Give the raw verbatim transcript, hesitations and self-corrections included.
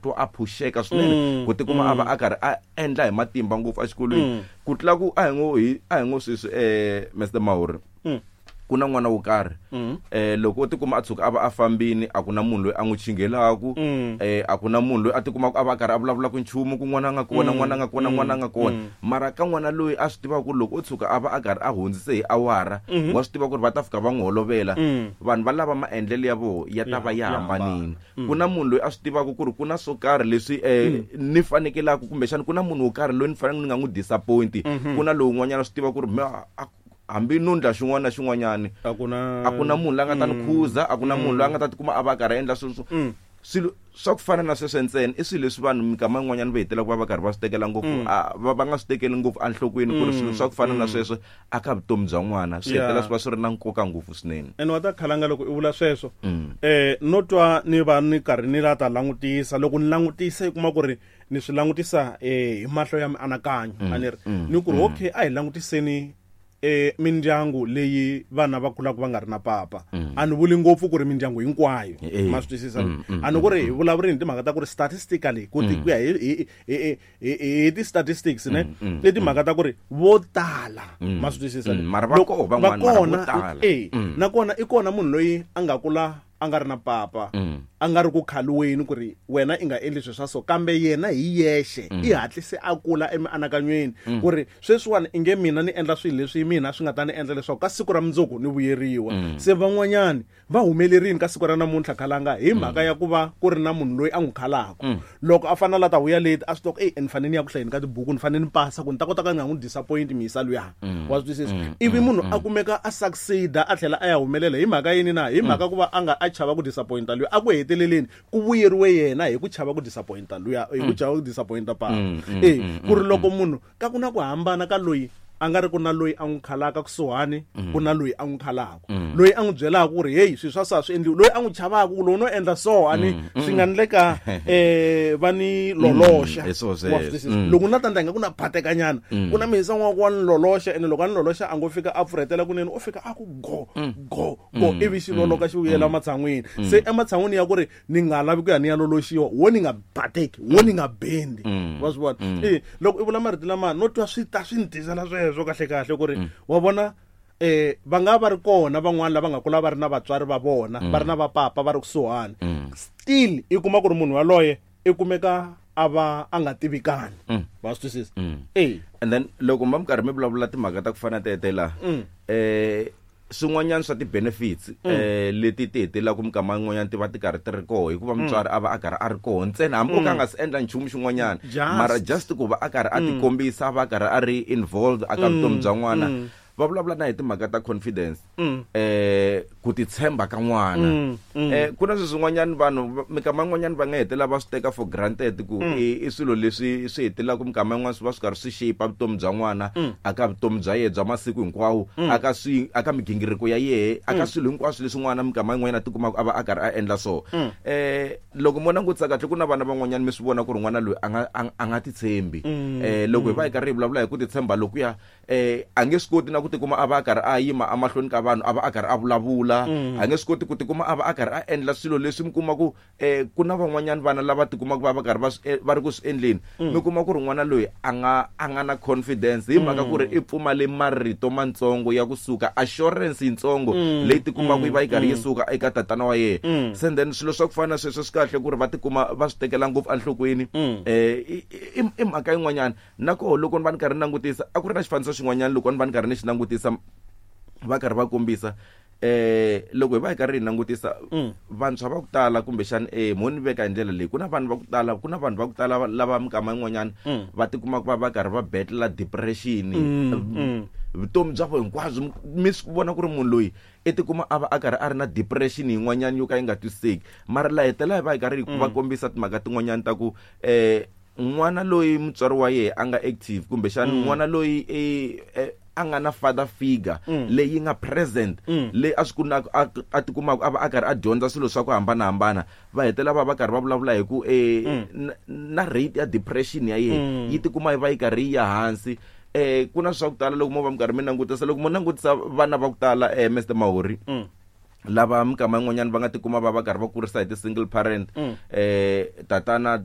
twa a phuxeka swinene ku tikuma a va a karhi a endla hi matimba ngopfu exikolweni ku tlula ku a hi ngo hi a hi ngo sweswi eh Mister Mahuri, ku na n'wana wo karhi, eh loko o tikuma a tshuka a va a fambini, a ku na munhu loyi a n'wi chingelaku, eh a ku na munhu loyi a tikumaka a va a karhi a vulavulaka nchumu ku n'wana a nga kona, n'wana a nga kona, n'wana a nga kona. Mara ka n'wana loyi a swi tivaka ku loko o tshuka a va a karhi a hundzise hi awara, wa swi tiva ku ri va ta fika va n'wi holovela, vanhu va lava maendlelo ya voho ya ta va ya hambanini. Ku na munhu loyi a swi tivaka ku ri ku na swo karhi leswi eh ni fanekelaka, kumbexana ku na munhu wo karhi loyi ni fanele ni nga n'wi disappoint. Ku na lowun'wanyana swi tiva ku ri me- a- hambi no ndla xin'wana na xin'wanyani, a ku na a ku na munhu la nga ta ni khuza, a ku na munhu loyi a nga ta tikuma a va a karhi a endla swilo swo swilo swa ku fana na sweswo ntsena. I swilo leswi vanhu minkama yin'wanyana va hetelela ku va va karhi va swi tekela ngopfu, a va va nga swi tekeli ngopfu enhlokweni ku ri swilo swa ku fana na sweswo aka vutomi bya n'wana swi Yeah. hetelela swi va swi ri na nkoka ngopfu swinene. Ene wa ta khalanga loko i vula sweswo, eh no twa ni va ni karhi ni la ta langutisa. Loko ni langutisa, i kuma ku ri ni swi langutisa eh hi mahlo ya mianakanyo, a ni ri ni ku ri okay, a hi langutiseni eh mindyangu leyi vana va kulaka va nga ri na papa. A ni vuli ngopfu ku ri mindyangu hinkwayo, Eh. ma swi twisisa? A ni ku ri hi vulavurini timhaka ta ku ri statistically, ku ti ku ya hi hi hi hi hi ti-statistics ne, i timhaka ta ku ri vo tala, ma swi twisisa? Mm, mara va Loko- koho van'wana, va mara vo kona, tala. eh nakona i kona munhu loyi a nga kula a nga ri na papa, a nga ri ku khaliweni ku ri wena i nga endli swilo swa so, kambe yena hi yexe i hatlise a kula emianakanyweni ku ri sweswiwani i nge mina ni endla swilo leswi mina swi nga ta ni endla leswaku ka siku ra mundzuku ni vuyeriwa. Se van'wanyani va humelerini ka siku ra namuntlha, khalanga, hi mhaka ya ku va ku ri na munhu loyi a n'wi khalaka. Loko a fanele a ta vuya leti, a swi tiva ku ey, ni fanele ni ya ku hlayeni ka tibuku, ni fanele ni pasa ku ni ta kota ka ni nga n'wi disappoint misa luya, wa swi twisisa? Ivi munhu a kumeka a succeeda, a tlhela a ya humelela hi mhaka yini na? Hi mhaka ku va a nga a chava ku disappointa luya. A ku heteleleni ku vuyeriwe yena hi ku chava ku disappointa luya, hi ku chava ku disappointa papa. E ku ri loko munhu ka ku na ku hambana ka loyi a nga ri ku na loyi a n'wi khalaka kusuhani, ku na loyi a n'wi khalaka, loyi a n'wi byelaka ku ri heyi, swilo swa so a swi endliwi, loyi a n'wi chavaka ku lowu no endla so ani swi nga ndleka eh va ni loloxa. Hi swona Wa swi sweswo. twisisa? Loko na tandla nga ku na phatekanyana, ku na mihisa n'wa wa ni loloxa, ene loko a ni loloxa a ngo fika a pfurhetela kunene, u fika a ku go go go, ivi xi loloka xi vuyela ematshan'wini. Se ematshan'wini ya ku ri ni nga lavi ku ya ni ya loloxiwa, wo ni nga bateki, wo ni nga bendi, wa swi vona? E loko i vula marito lama, no twa swi ta swi ni tisela sweswo kahle kahle ku ri wa vona, eh va nga va ri kona van'wana lava nga kula va ri na vatswari va vona, va ri na vapapa va ri kusuhani, still i kuma ku ri munhu yaloye i kumeka a va a nga tivikani, va swi twisisa? E. And then loko ma mi karhi mi vulavula timhaka ta ku fana tete la, eh swin'wanyana swa ti-benefits eh leti ti hetelelaka minkama yin'wanyana ti va ti karhi ti ri koho hikuva mutswari a va a karhi a ri koho ntsena, hambi o ka a nga si endla nchumu xin'wanyana, Just. mara just ku va a karhi a tikombisa, a va a karhi a ri involved aka vutomi bya n'wana, va vulavula na hi timhaka ta confidence, eh ku titshemba ka n'wana. eh ku na swilo swin'wanyana vanhu minkama yin'wanyana va nga hetelela va swi teka for granted ku i i swilo leswi swi hetelelaka minkama yin'wana swi va swi karhi swi shape vutomi bya n'wana aka vutomi bya yena bya masiku hinkwawo, aka swi aka migingiriko ya yehe, aka swilo hinkwaswo leswi n'wana minkama yin'wanyana a tikumaka a va a karhi a endla. So eh loko mo langutisa kahle, ku na vana van'wanyana mi swi vona ku ri n'wana loyi a nga a a nga titshembi. eh loko hi va hi karhi hi vulavula hi ku titshemba lokuya, eh a nge swi koti na ku tikuma a va a karhi a yima emahlweni ka vanhu a va a karhi a vulavula, a nge swi koti ku tikuma a va a karhi a endla swilo leswi mi kuma ku eh ku na van'wanyana vana lava tikumaka va va karhi va swi e- va ri ku swi endleni. Mi kuma ku ri n'wana loyi a nga a nga na confidence hi mhaka ku ri i pfumale marito matsongo ya kusuka, assurance yitsongo leyi tikumaka yi va yi karhi yi suka eka tatana wa yena. Se then swilo swa ku fana na sweswo swi kahle ku ri va tikuma va swi tekela ngopfu enhlokweni. eh i i- i mhaka yin'wanyana na koho loko ni va ni karhi ni langutisa, a ku ri na xifaniso xin'wanyana loko ni va ni karhi ni xi langutisa, va karhi va kombisa eh loko hi va hi karhi hi langutisa vantshwa va ku tala, kumbexani eh mo ni veka hi ndlela leyi, ku na vanhu va ku tala, ku na vanhu va ku tala lava minkama yin'wanyana va tikumaka va va karhi va betlela depression vutomi bya vona hinkwabyo. Mi swi vona ku ri munhu loyi i tikuma a va a karhi a ri na depression yin'wanyana yo ka yi nga twisiseki, mara la hetelela hi va hi karhi hi va kombisa timhaka tin'wanyana ta ku eh n'wana loyi mutswari wa yehe a nga active, kumbexani n'wana loyi e, e, a nga na father figure leyi nga present, leyi a swi ku na a, a tikumaka a va a karhi a dyondza swilo swa ku hambanahambana, va hetelela va va karhi va vulavula hi ku eh, na, na rate ya depression ya yehe yi tikuma yi va yi karhi yi ya hansi. eh ku na swa ku tala loko mo va mi karhi mi langutisa, loko mo langutisa vana va ku tala, eh Mister Mahori, lava minkama yin'wanyana va nga tikuma va va karhi va kurisa hi ti-single parent, eh tatana